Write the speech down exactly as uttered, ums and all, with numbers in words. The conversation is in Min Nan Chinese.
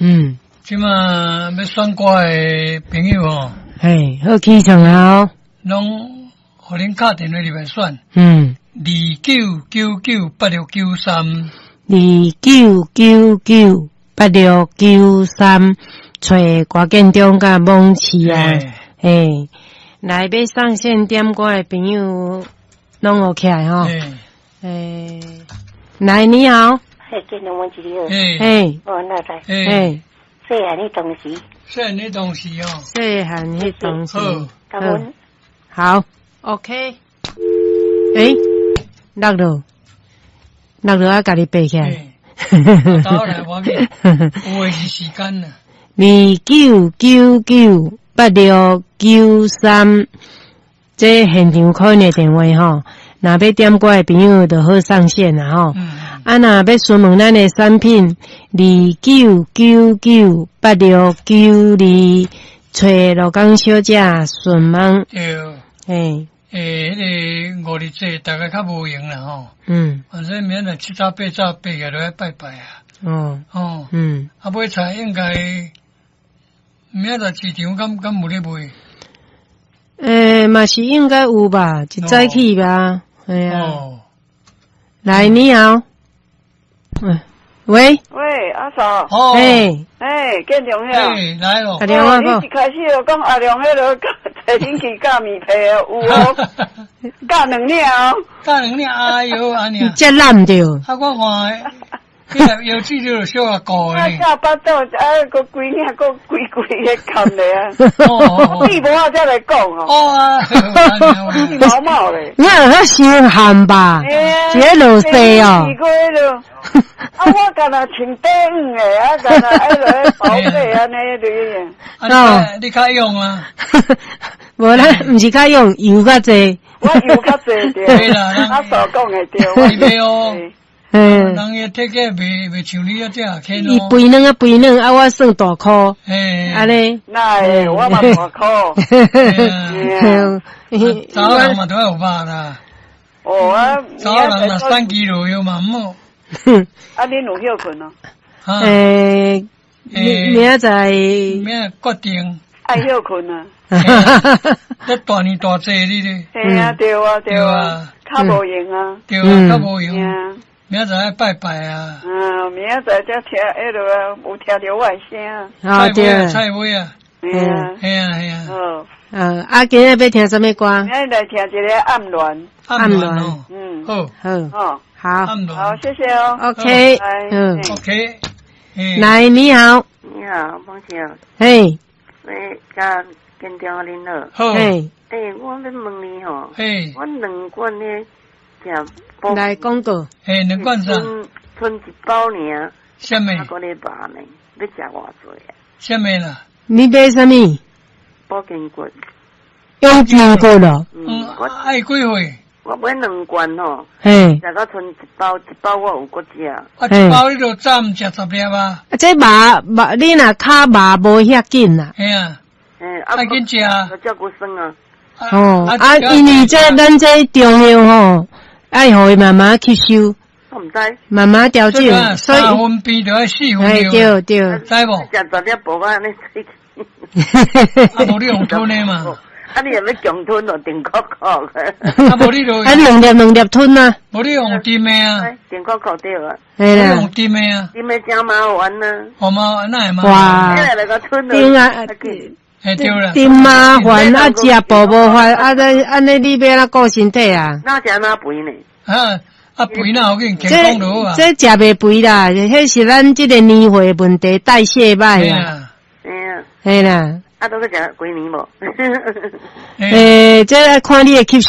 嗯，這馬欲選歌的朋友吼，嘿，好起床啊！攏予恁敲電話入來選。嗯，二九九九八六九三，二九九九八六九三，揣郭建中佮網市啊，嘿，來欲上線點歌的朋友攏有起來吼。欸，來你好，嘿，建中問一個，嘿，哦，那來，嘿，細漢彼當時，細漢彼當時哦，細漢彼當時，好，好，OK，欸，落了，落了啊，家己爬起來，倒來我去，有的是時間啦。二九九九八六九三，這現場 call 的電話吼。若欲點歌的朋友就好上線啦吼。啊，若欲詢問咱的產品，二九九九八六九二，揣羅江小姐詢問。對。嘿。欸，彼個五日節大家較無閒啦吼。嗯。反正明仔七早八早爬起來就愛拜拜啊。哦。哦。嗯。啊，買菜應該明仔載市場敢敢有咧賣？欸，嘛是應該有吧，一早起吧。對啊，來，你好，喂，喂，阿嫂，哎，哎，建中兄，來咯，阿良啊，你一開始就講阿良彼个提恁去教麵皮啊，有哦，教兩領哦，教兩領，哎喲，按呢，這爛著，啊，我看，彼個腰子就小可顧啊，教腹肚，啊，閣規領，閣規規的含咧啊，你無啊，才來講哦，哦啊，你毛毛咧，你有遐傷譀吧？一个落雪哦。啊，我敢若穿短黄的，啊，敢若愛落寶貝按呢類啊，你你較勇啊？無啦，毋是較勇，油較濟。我油較濟對。阿嫂講的對。對哦。嗯。人伊體格袂袂像你啊這樣輕伊肥軟啊肥軟啊，我算大箍。嘿。按呢。哪會？我嘛大箍。查某人嘛都愛有肉啦。哦啊。查某人若三肌肉藥嘛毋好。啊，恁有歇睏哦？欸，明仔載。明仔決定。愛歇睏啊！這大年大節你咧。嘿啊，對啊，對啊，較無閒啊。對啊，較無閒。明仔載愛拜拜啊。嗯，明仔載才聽彼落啊，有聽著我的聲。啊對。菜尾啊。嘿啊。嘿啊嘿啊。好。呃，啊，今仔欲聽啥物歌？今仔來聽一个暗戀。暗戀。嗯。好。好。好。好，謝謝哦。 OK。嗯。 OK。來，你好。你好，王小。嘿。喂，甲建中恁好。好。嘿。欸，我欲問你吼。嘿。我兩罐呢，食。來廣告。嘿，兩罐啥？賰賰一包爾。啥物？一個禮拜呢，欲食偌濟啊？啥物啦？你買啥物？保健骨。養筋骨咯。嗯，愛幾歲？我買兩罐吼。嘿。食到賰一包，一包我有閣食。啊，一包你就早毋食十粒啊？啊，這肉肉，你若跤肉無遐緊啊？嘿啊。嘿，愛緊食。照顧酸啊。哦，啊，因為這咱這中藥吼，愛予伊慢慢吸收。我毋知。慢慢調整，所以三分肥就愛四分對對。知無？食十粒薄仔按呢喙。啊，無你用吞的嘛？啊，你若欲強吞就定確確。啊，無你就啊，兩粒兩粒吞啊。無你用甜的啊？定確確對啊。嘿啦。用甜的啊。甜的誠麻煩啊。好麻煩，哪會麻煩？哇。甜啊！嘿對啦。甜麻煩啊，食飽無法啊！這按呢你欲按怎顧身體啊？哪食哪肥呢？啊啊肥哪好緊，健康就好啊。這食袂肥啦，彼是咱這個年歲問題，代謝歹啊。嘿啊。嘿啦。啊，都欲食幾年無？欸，這愛看你的吸